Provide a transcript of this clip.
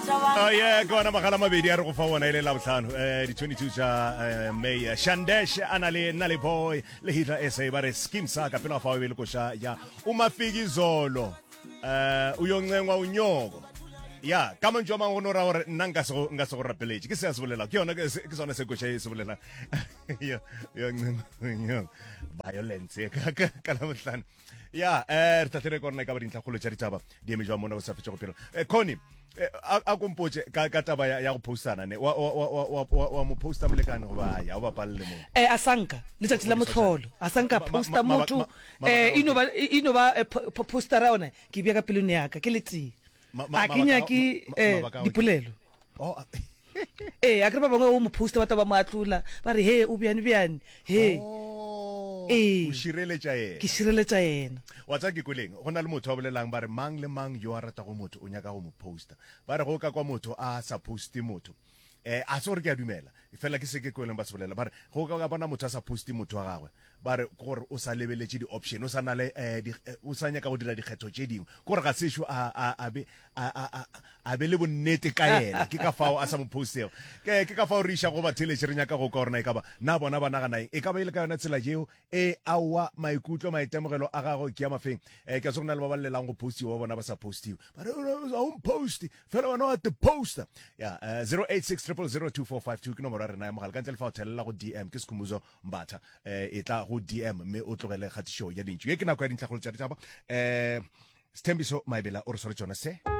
Oh yeah, ke ona magala mabedi a re go fa ona e le labohlano eh di-22 tša eh, May. Shandesh a na le Nale Boy le Hitler SA ba re skim sa ka pela fa o be le koša ya Umafikizolo eh uyoncengwa unyoko. Ya, ka mantšu a mangwe go no ra gore nna nka se go nka se go rapeletše. Ke se a se bolela. Ke yona ke se- ke sona se koša e se bolela. Yo yoncengwa unyoko. Violence ka ka ka labohlano. Ya, eh re hlahlele ka rona e ka ba dintlhakgolo tša ditaba di eme jwang mona go sa fetše go pelo. Eh, Connie, eh, a a kompotše ka ka taba ya, ya go postana ne wa wa wa wa wa, wa mo posta molekane goba ya o bapalele mo. Eh, a sanka letšatši la mohlolo a sanka posta motho eh ino ba ino ba eh, postera yona ke bja ka pelong ya ka ke letee a ke nyake eh dipolelo oh ee a kere ba bangwe o mo posta ba tla ba mo atlola ba re he o bjane bjane he oh, ee o šireletša yena ke šireletša yena wa tseba ke kweleng go na le motho a bolelang ba re mang le mang yo a ratago motho o nyaka go mo posta ba re go ka kwa motho a sa poste motho eh a se gore ke a dumela fela ke se ke kweleng ba se bolela ba re go ka bona motho a sa poste motho wa gagwe Ba re ke gore o sa lebeletše di-option, o sa na le eh, di, eh, o sa nyaka go dira dikgetho tše dingwe. Ke gore ga sešo a, a, a be, a, a, a, a be le bonnete ka yena. Ke ka fao a sa mo postego. Ke, ke ka fao re iša go batheeletši re nyaka go kwa gore na e ka ba na bona ba nagana eng. E ka ba e le ka yona tsela yeo? Ee, aowa, maikutlo, maitemogelo a gago ke a mafeng? Eh, ke a tseba go na le ba ba llelang go postiwa ba bona ba sa postiwe. Ba re, ga o mposte, fela wena wa te posta. Ya, eh, 086 000 2452 ke nomoro ya rena ya mogala. Ka ntle le fa o thelela go DM ke Sekhumbuzo Mbatha eh, e tla go DM mme o tlogele kgatišo ya lentšu. Ye ke nako ya dintlhakgolo tša ditaba. Eh, Sthembiso Maebela o re sware tšona se.